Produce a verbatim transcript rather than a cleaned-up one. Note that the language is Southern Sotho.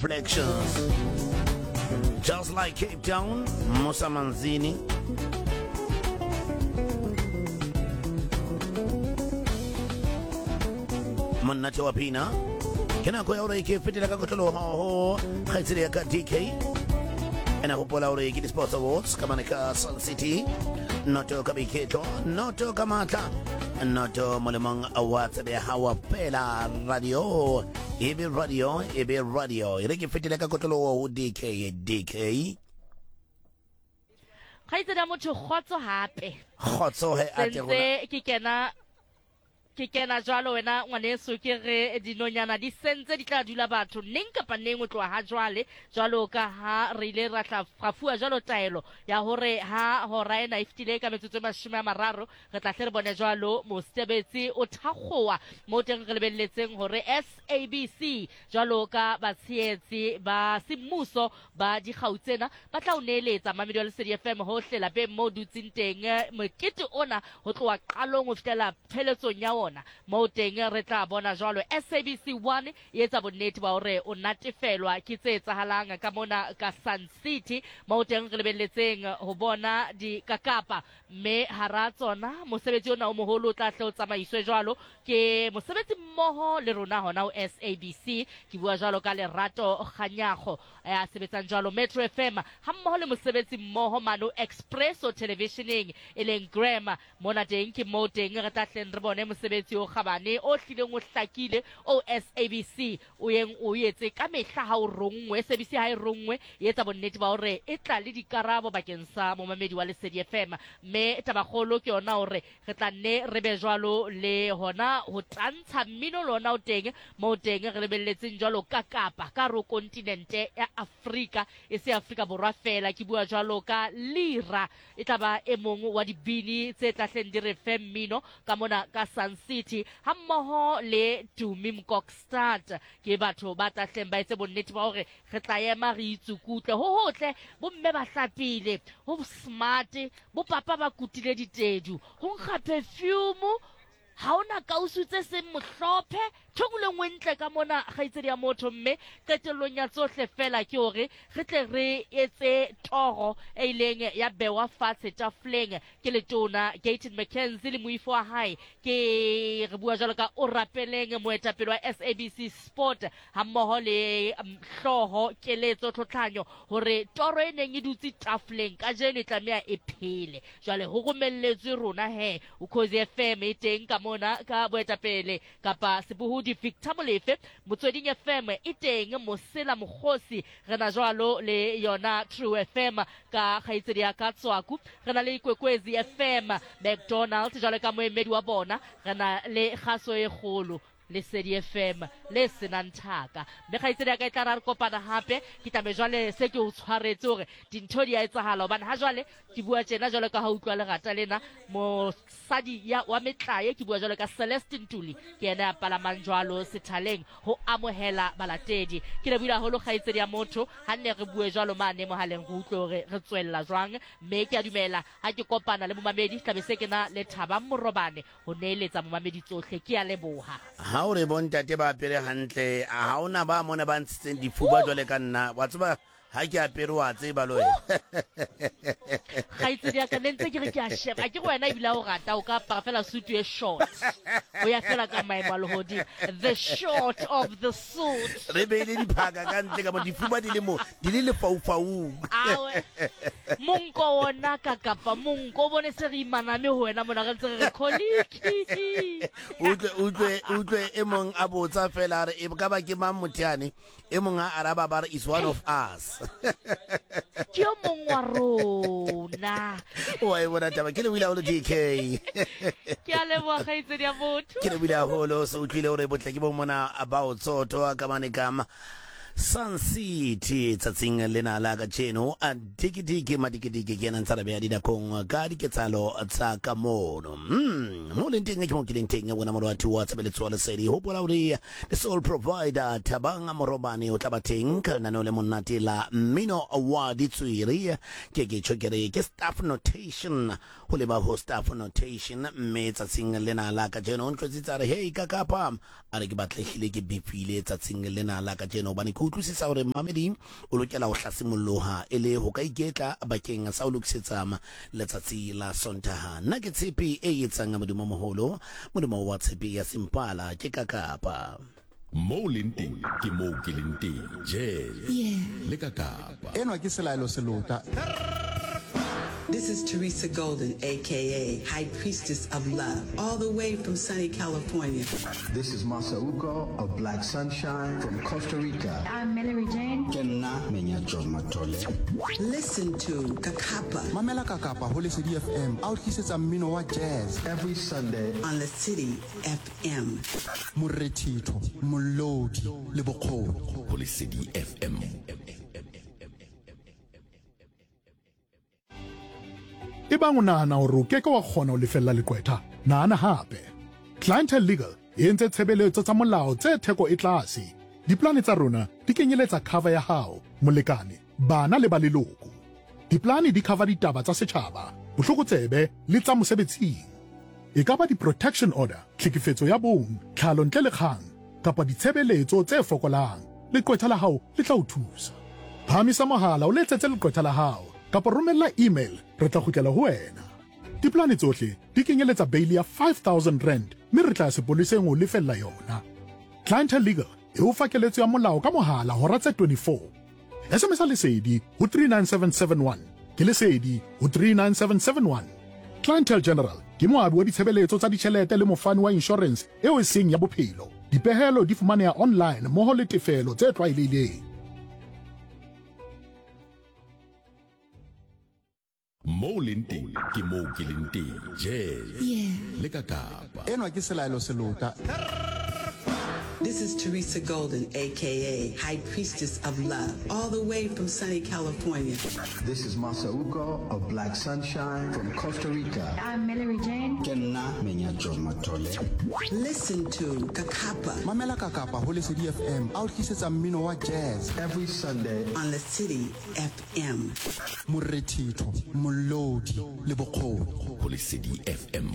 Reflections. Just like Cape Town, Musa Manzini. Monate wa pina. Ke nako ya hore ke fetela ka kotloloho ho kgaitsedi ya ka D K. Ena hopola hore ke di-Sports Awards ka mane ka Sun City. Noto ka boiketlo, noto ka matla, noto molemong wa tsebe ya hao fela. Radio, e be radio, e be radio. E re ke fetele ka kotloloho ho D K. D K. Kgaitsedi ya motho, kgotso hape. Kgotso he ate rona. Sentse ke kena, ke kena jwalo wena ngwaneso, ke re dinonyana di sentse di tla dula batho neng kapa neng o tloha ha jwale, jwalo ka ha re ile ra tla ra fuwa jwalo taelo ya hore ha hora ena e fetile ka metsotso e mashome a mararo, re tla hle re bone jwalo mosebetsi o thakgowa mo teng re lebelletseng hore S A B C jwalo ka batshehetsi ba semmuso ba dikgau tsena ba tla o neeletsa Mamedi wa Lesedi F M hohle lapeng mo dutseng teng mokete ona ho tloha qalong ho fihlela pheletsong ya ona. Mo teng re tla bona jwalo S A B C one e etsa bonnete ba hore o natefelwa ke tse etsahalang ka mona ka Sun City, mo teng re lebelletseng ho bona dikakapa, mme hara tsona mosebetsi ona o moholo o tla hle o tsamaiswe jwalo ke mosebetsi mmoho le rona hona ho S A B C. Ke bua jwalo ka Lerato Kganyago ya sebetsang jwalo Metro F M ha mmoho le mosebetsi mmoho mano Expresso Televisioning e leng Graham. Mona teng ke mo teng re tla hleng re bone mosebetsi o kgabane o hlileng o hlakile o S A B C o yeng o etse ka mehla ha o rongwe. S A B C ha e rongwe e etsa bonnete ba hore e tla le dikarabo bakeng sa momamedi wa Lesedi F M, mme tabakgolo ke yona hore re tla nne re be jwalo le hona ho tantsha mmino lona o teng mo teng re lebelletseng jwalo ka Kapa ka ro kontinente ya Afrika, e se Afrika Borwa fela. Ke bua jwalo ka Lira, e tla ba e mong wa dibini tse tla hleng di re fe mmino ka mona ka Sun City ha mmoho le Tumi Mkokstad. Ke batho ba tla hleng ba etse bonnete ba hore re tla ema re itsukutle ho hotle, bomme ba hlapile, ho smart, bo papa ba kutile ditedu, ho nkga perfume, ha ona kausu tse seng mohlophe, ntho e nngwe le nngwe ntle ka mona kgaitsedi ya motho. Mme qetellong ya tsohle fela ke hore re tle re etse toro e ileng ya bewa fatshe tafoleng ke letona Gayton McKenzie le moifo wa hae. Ke re bua jwalo ka o rapeleng moetapele wa S A B C Sport ha mmoho le hlooho Keletso Tlhotlhanyo hore toro e neng e dutse tafoleng kajeno e tlameha e phele. Jwale ho romelletswe rona he Ukhozi F M e teng ka mona ka boetapele kapa sebohodi Victor Molefe, Motsweding F M e teng Mosela Mokgosi, re na jwalo le yona True F M ka kgaitsedi ya ka Tswaku, re na le Ikwekwezi F M McDonald jwalo ka moemedi wa bona, re na le kgaso e kgolo Lesedi F M le senang thaka. Mme kgaitsedi ya ka e tla ra re kopana hape, ke tlabe jwale se ke o tshwaretse hore dintho di a etsahala, hobane ha jwale ke bua tjena jwalo ka ha utlwa lerata lena mosadi ya wa metlae, ke bua jwalo ka Celeste Ntuli, ke yena ya palamang jwalo sethaleng ho amohela balatedi. Ke lebohile haholo kgaitsedi ya motho ha nne re bue jwalo mane mohaleng re utlwe hore re tswella jwang, mme ke a dumela ha ke kopana le momamedi tlabe se ke na le Thabang Morobane ho neeletsa momamedi tsohle. Ke a leboha. Ha o re bontate ba apere hantle, ha hona ba mona ba ntshitseng difuba jwale ka nna, wa tseba ha ke apere wa tseba le wena. Kgaitsedi ya ka ne ntse ke re ke a sheba, ke wena ebile o rata o ka apara fela suit e short, o ya fela ka maemo a lehodimo, the short of the suit. Re beile diphaka ka ntle ka mo difuba di le mo di le lefaufaung. Awe monko ona ka kapa monko o bone se re imaname ho wena mona re ntse re re colleague. Utlwe utlwe utlwe e mong a botsa fela re e ka ba ke mang motho e mong a araba ba re is one of us. Ke yo mong wa rona. Wa e bona taba, ke lebohile haholo D K. Ke a leboha kgaitsedi ya motho. Ke lebohile haholo, se utlwile hore botle ke bo mona ba o tsotho ka mane ka Sun City tsatsing lena la kajeno. A dikidiki madikidiki ke yena ntse re beha dinakong ka diketsahalo tsa ka mono. Mm, mo leng teng ke mo ke leng teng bona morwati wa tshebeletso wa Lesedi. Hopola hore the sole provider Thabang Morobane o tla ba teng ka lenaneo le monate la mmino wa ditswiri. Ke ke tjho ke re ke staff notation, ho leba ho staff notation, mme tsatsing lena la kajeno o ntlwetsitse a re hey ka kapa a re ke batlehile ke befile tsatsing lena la kajeno hobane ke Ke utlwisisa hore mamedi o lokela ho hlasimolloha e le ho ka iketla bakeng sa ho lokisetsa letsatsi la Sontaha. Nna ke tshepe e etsang Modimo moholo, Modimo wa tshepe ya Simpala ke ka Kapa. Mo leng teng ke mo ke leng teng. Jazz. Yeah. Le ka Kapa. Enwa ke Selaelo Selota. This is Teresa Golden, aka High Priestess of Love, all the way from sunny California. This is Masauko of Black Sunshine from Costa Rica. I'm Mallory Jane. Ke nna Menyatso Mathole. Listen to Kakapa Mamela Kakapa ho Lesedi F M a o tlisetsa mmino wa jazz every Sunday on the City F M. Morethetho, molodi le bokgoni ho Lesedi F M. Ebang o nahana hore o keke wa kgona ho lefella leqwetha, nahana hape. Clientele Legal e entse tshebeletso tsa molao tse theko e tlase. Diplane tsa rona di kenyeletsa cover ya hao, molekane, bana le ba leloko. Diplane di cover ditaba tsa setjhaba, bohlokotsebe le tsa mosebetsing. E ka ba di-protection order, tlhekefetso ya bong, tlhalo ntle le kgang, kapa ditshebeletso tse fokolang. Leqwetha la hao le tla o thusa. Phahamisa mohala o letsetse leqwetha la hao kapa romella email, re tla kgutlela ho wena. Diplane tsohle di kenyeletsa bail ya five thousand rand mme re tla ya sepoleseng ho lefella yona. Clientele Legal e o fa keletso ya molao ka mohala hora tse twenty-four. S M S Lesedi ho three nine seven seven one. Ke Lesedi ho three nine seven seven one. Clientele General ke moabi wa ditshebeletso tsa ditjhelete le mofani wa insurance eo e seng ya bophelo. Dipehelo di fumaneha online mmoho le tefelo tse tlwaelehileng. Mo leng teng ke mo ke leng teng. Jazz. Yeah. Le ka Kapa. Enwa ke Selaelo Selota. This is Teresa Golden, aka High Priestess of Love, all the way from sunny California. This is Masauko of Black Sunshine from Costa Rica. I'm Mallory Jane. Ke nna Menyatso Mathole. Listen to Kakapa. Mamela Kakapa ho Lesedi F M a o tlisetsa mmino wa jazz every Sunday on the City F M. Morethetho, molodi le bokgoni ho Lesedi F M.